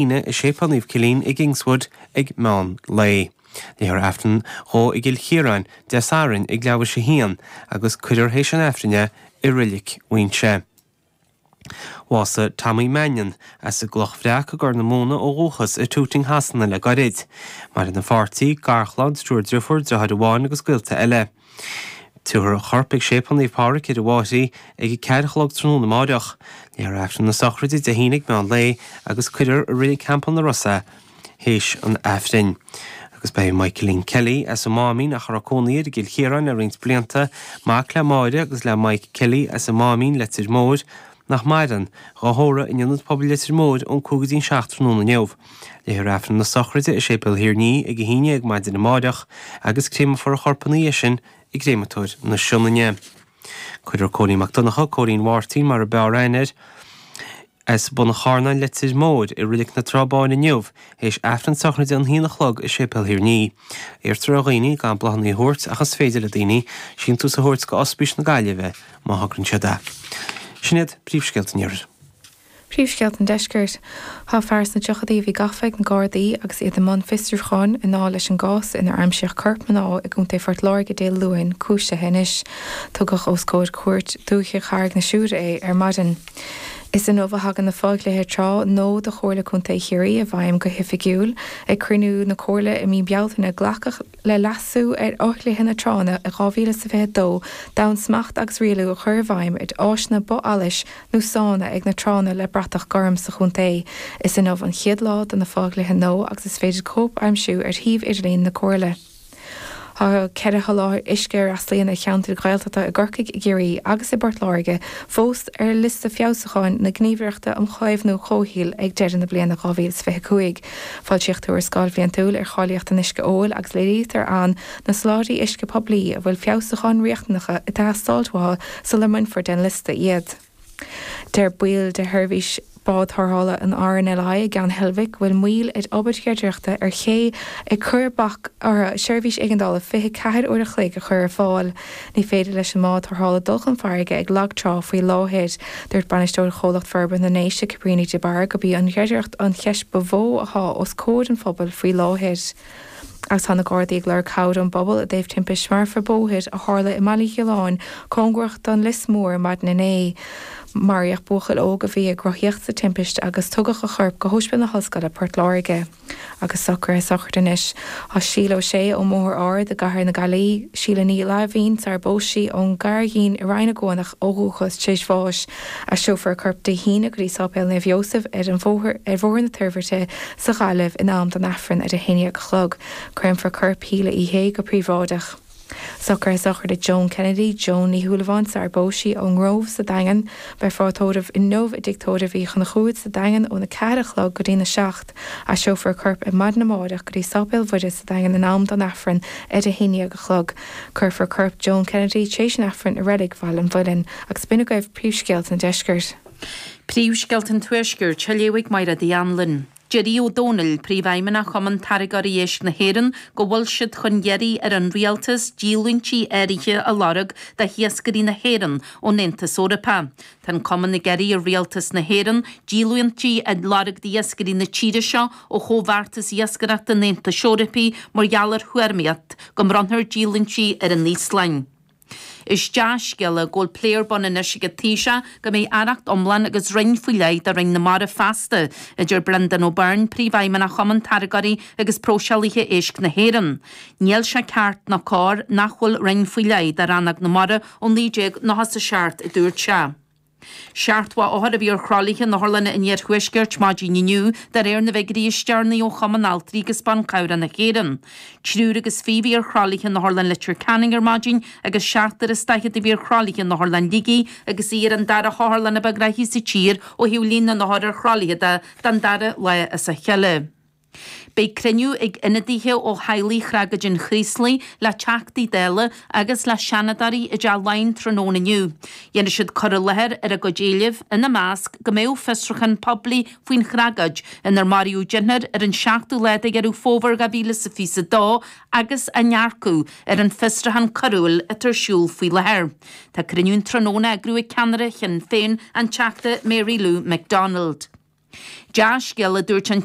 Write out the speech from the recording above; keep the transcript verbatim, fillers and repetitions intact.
hAoine i Séipéal Naomh Cillian i gKingswood ag meán lae. Léifear Aifreann dhó i gCill Chiaráin Dé Sathairn ag leathuair théis a haon agus cuirfear théis an Aifrinn é i Reilig Mhuinseo. Bhásaigh Tommy Mannion as an gCloch Bhreac i gCorr na Móna ó dhúchas i Tooting Shasana le gairid. Maireann a pháirtí, garchlann, triúr driofúr, deartháir amháin agus gaolta eile. Tiúrfar a chorp ag Séipéal Naomh Pádraig ar an bhFairche ag a ceathair a chlog tráthnóna amáireach. Léifear Aifreann na sochraide Dé hAoine ag meán lae agus cuirfear i Reilig Theampall na Rosa é théis an Aifrinn. Agus ba é Michaelín Kelly as an Máimín ach a raibh cónaí air i gCill Chiaráin le roinnt blianta, mac le Máire agus le Mike Kelly as an Máimín, Leitir Móir, nach maireann, dhá thórramh in Ionad Pobail Leitir Móir ón cúig go dtí an seacht tráthnóna inniu. Léifear Aifreann na sochraide i Séipéal Thír an Fhia ag a haon déag maidin amáireach agus créamfar a chorp ina dhiaidh sin i gCréamatóir na Sionainne. Cuirfear Cóilín Mac Donncha, Cóilín Mháirtín mar a b'fhearr aithne air, as Bun an Charnáin, Leitir Móir, i Reilig na Trá Báine inniu, théis Aifreann sochraide an haon a chlog i Séipéal Thír an Fhia. Iarrtar ar dhaoine gan bláthanna a thabhairt ach is féidir le daoine síntiús a thabhairt go Ospís na Gaillimhe má thograíonn siad é. Sin iad príomhscéalta an Iarthair. Príomhscéalta an Deiscirt. Tá fear sna tríochaidí a bhí gafa ag na Gardaí agus iad i mbun fiosrúcháin i ndáil leis an gcás inar aimsíodh corp mná i gContae Phort Láirge Dé Luain cúisithe anois. Tugadh os comhair Chúirt Dúiche Charraig na Siúire é ar maidin. Is inniu a thagann na fodhlíthe trá nua do Chomhairle Contae Chiarraí i bhfeidhm go hoifigiúil. Ag cruinniú na Comhairle i mí Bealtaine glacadh le leasú ar fhodhlíthe na tránna i dhá mhíle is a fiche dó d'fhonn smacht agus rialú a chur i bhfeidhm ar áiseanna bith-allais nó sána ag na tránna le bratach gorm sa chontae. Is inniu an chéad lá do na fodhlíthe nua agus is féidir cóip a aimsiú ar shuíomh idirlín na Comhairle. Tá ceithre sholáthar uisce a fhreastalaíonn ar cheantair Ghaeltachta i gCorcaigh, i gCiarraí agus i bPort Láirge fós ar liosta feabhsúcháin na Gníomhaireachta um Chaomhnú Comhshaoil ag deireadh na bliana dhá mhíle is fiche a cúig. Foilsíodh tuarascáil bhliantúil ar cháilíocht an uisce óil agus léirítear ann na soláthairtí uisce poiblí a bhfuil feabhsúcháin riachtanacha ag teastáil uathu sula mbainfear den liosta iad. Deir baill de sheirbhís bád tarrthála an R N L I i gCeann Heilbhic go bhfuil moill ar obair chreidireachta ar ché ag cur bac orthu seirbhís éigeandála fiche ceathair uair a chloig a chur ar fáil. Ní féidir leis an mbád tarrthála dul chun farraige ag lagtrá faoi láthair. Dúirt bainisteoir Chomhlacht Forbartha na nDéise Cabríní de Barra gurb í an chreidireacht an cheist ba mhó atá os comhair an phobail faoi láthair. Agus tá na Gardaí ag lorg cabhair ón bpobal i dtaobh timpist marfach bóthair a tharla i mBaile Ghiolláin cóngarach don Lios Mór maidin inné. Maraíodh buachaill óg a bhí ag rothaíocht sa timpist agus tugadh a chorp go hOspidéal na hOllscoile Port Láirge. Agus socruithe sochraide anois. Tá Síle Ó Sé ón mBóthar Ard i gCathair na Gaillimhe, Síle Ní Laimhín sar bpós sí ón gCairgín i Rinn na gCuanach ó dhúchas tar éis bháis. Aistreofar a corp Dé hAoine go dtí Sáipéal Naomh Iósaf ar an bhóthar ar Bhóthar na Toirbhirte sa Ghaillimh in am don Aifreann ar a haon déag a chlog. Créamfar corp Shíle Uí Shé go príobháideach. Socruithe sochraide Joan Kennedy, Joan Ní Shúilleabháin sar bpós sí ón nGrove sa Daingean, beifear á tórramh inniu i dtigh tórraimh Uí Chonchúir sa Daingean óna ceathair a chlog go dtí na seacht. Aistreofar a corp ar maidin amárach go dtí Sáipéal Mhuire sa Daingean in am don Aifreann ar a haon déag a chlog. Cuirfear corp Joan Kennedy tréis an Aifrinn i Reilig Bhaile an Mhuilinn, agus b'in agaibh príomhscéalta an deiscirt. Príomhscéalta an Tuaiscirt, á léamh ag Máire Uí Anluain. Deir Aodh Ó Domhnaill, Príomhfheidhmeannach Chumann Táirgeoirí Éisc na hÉireann, go bhfuil siad chun iarraidh ar an rialtas díolúintí áirithe a lorg do hiascairí na hÉireann ón Aontas Eorpach. Tá an cumann ag iarraidh ar rialtas na hÉireann díolúintí a lorg d'iascairí na tíre seo ó chomhbheartas iascaireachta an Aontais Eorpaigh mar gheall ar thuairimíocht go mbronnfar díolúintí ar an Íoslainn. Is dea-scéala go bhfuil plé ar bun anois ag an Taoiseach go mbeidh aireacht iomlán agus roinn faoi leith do Roinn na Mara feasta, a deir Brendan O'Byrne, Príomhfheidhmeannach Chumann Táirgeoirí agus Próiseálaithe Éisc na hÉireann. Níl sé ceart ná cóir nach bhfuil roinn faoi leith do rannóg na mara ó naoi déag nócha a seacht, a dúirt sé. Seachtó othar a bhí ar thralaithe in otharlanna an iarthuaiscirt maidin inniu de réir na bhfigiúirí is deireanaí ó Chumann Altraí agus Ban Cabhrach na hÉireann. Triúr agus fiche a bhí ar thralaithe in Otharlann Leitir Ceanainn ar maidin agus seachtar is daichead a bhí ar thralaithe in Otharlann Shligigh agus í ar an dara hotharlann a ba ghnaithí sa tír ó thaobh líon na n-othar ar thralaithe de don dara lá as a chéile. Beidh cruinniú ag ionadaithe ó theaghlaigh thragóid an Chraoslaigh le Teachtaí Dála agus le Seanadóirí i dTeach Laighean tráthnóna inniu. Dhéanfaidh siad cur i láthair ar a gcuid éileamh, ina measc go mbeadh fiosrúchán poiblí faoin thragóid inar maraíodh deichniúr ar an seachtú lá de Dheireadh Fómhair dhá mhíle is a fiche a dó agus a ndearcadh ar an bhfiosrúchán coiriúil atá ar siúl faoi láthair. Tá cruinniú an tráthnóna á eagrú ag ceannaire Shinn Féin, an Teachta Mary Lou McDonald. Dea-scéal a dúirt an